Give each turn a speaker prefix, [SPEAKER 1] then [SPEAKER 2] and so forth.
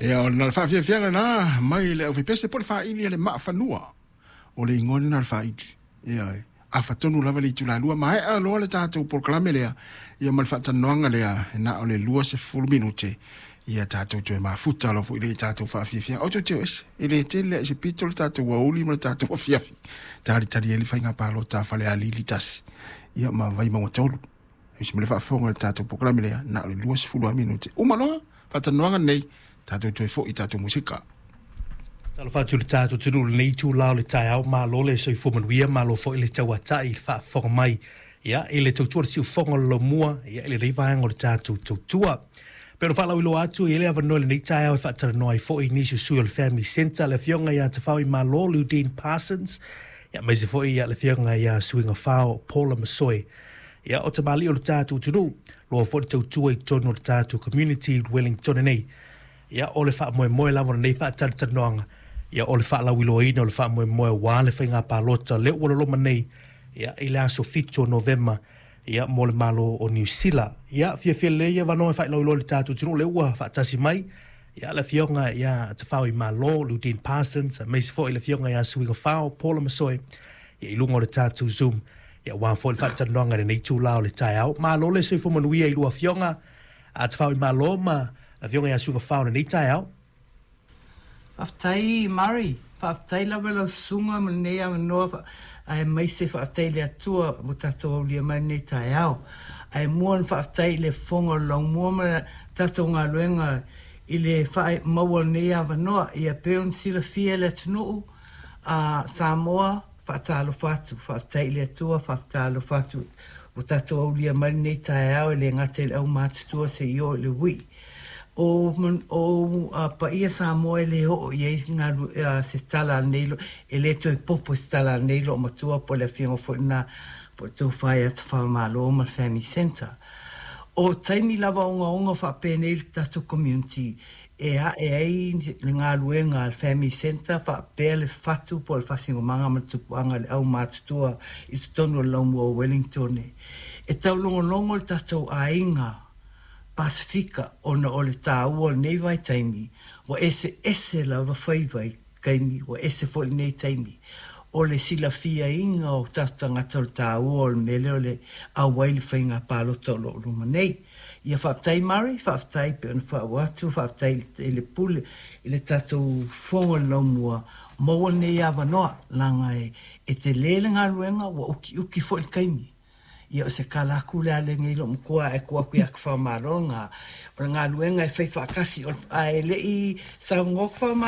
[SPEAKER 1] Ia, o le faafiafiaga lena mai le aufaipese po o le faili a le maafanua. O le igoa lena o le faili. Ioe. Afa tonu lava le itula 2, maea loa le tatou polokalame lea, ia ma le faatalanoaga lea, e na o le 20 minute, ia tatou toe mafuta loa foi lea i tatou faafiafiaga. O teuteu ese, e le tele lava i se pito le tatou aoauli ma le tatou afiafi, talitali ai le faiga palota a Falealili 1, ia ma Vaimauga 3. E ese ma le faafofoga i le tatou polokalame lea, na o le 20 lava minute. Uma loa faatalanoaga lenei, tatou toe foi i tatou musika.
[SPEAKER 2] Talofa atu i le tatou atunuu i lenei itula o le taeao, malo le soifua manuia, malo foi le tauatai i le faafofoga mai ia i le tautua le siufofoga o le laumua ia i lenei vaega o le tatou tautua. E pei ona faalauiloa atu, e i ai le avanoa i lenei taeao e faatalanoa ai foi nisi o sui o le Family Centre, le Afioga ia Tafao Malo, Ludene Parsons, ia aemaise foi ia le Afioga ia Suiga Fao, Paula Masoe. Ia o tamalii o le tatou atunuu, loa foi le tautua i totonu o le tatou community i Wellington nei. Ia, o le faamoemoe lava o lenei faatalatalanoaga, ia, o le faalauiloaina o le faamoemoe aua le faiga palota lea ua loloma nei, ia, i le aso 7 o Novema, ia, mo le Malo o Niu Sila. Ia, fiafia lelei ia avanoa e faailoiloa i le tatou atunuu lea ua faatasi mai, ia, le Afioga ia Tafaoimalo, Ludene Parsons, aemaise foi le Afioga ia Suigafao, Paula Masoe, ia, i luga o le tatou Zoom, ia, aua foi le faatalanoaga i lenei itula o le taeao. Malo le soifua manuia i lua Afioga, a Tafaoimalo ma Afioga ia Suigafao i lenei taeao.
[SPEAKER 3] Faafetai Murray, faafetai lava i lau susuga mo lenei avanoa aemaise faafetai i le Atua ua tatou aulia mai lenei taeao. Ae mua ona faafetai i le fofoga o le laumua ma le tatou galuega i le maua o lenei avanoa. Ia pei ona silafia e le atunuu a Samoa, Faatalofa atu, faafetai i le Atua, faatalofa atu ua tatou aulia mai lenei taeao e le gata i le aumatutua seia oo i le uii. O ou paia Samoa e le oo i ai se tala a lenei, e le toe popo se tala a lenei loomatua po o le afioga foi lena po o le tofa ia Tafamalo ma le Family Centre. O taimi lava ogaoga faapenei le tatou community e ae ai le galuega a le Family Centre faapea le fatu po o le faasinomaga ma le tupuaga i le aumatutua i totonu o le laumua o Wellington. E taulogologo le tatou aiga Pasefika ona o le taua o lenei vaitaimi ua eseese lava faiva i taimi ua ese foi lenei taimi. O le silafiaina o tatou tagata o le taua o le mea lea o le auai i le faiga palota o lo o luma nei. Ia faafetai Murray, faafetai pei ona faauu atu, faafetai i le Pule, i le tatou Fofoga o le Laumua, maua lenei avanoa, leaga e tele le galuega, ua ukiuki foi le taimi. Ia o se tala atu lea a lenei loomatua ae tuu atu ia Tafamalo lena, o le galuega e fai faatasi, ae le i saunoa Tafamalo,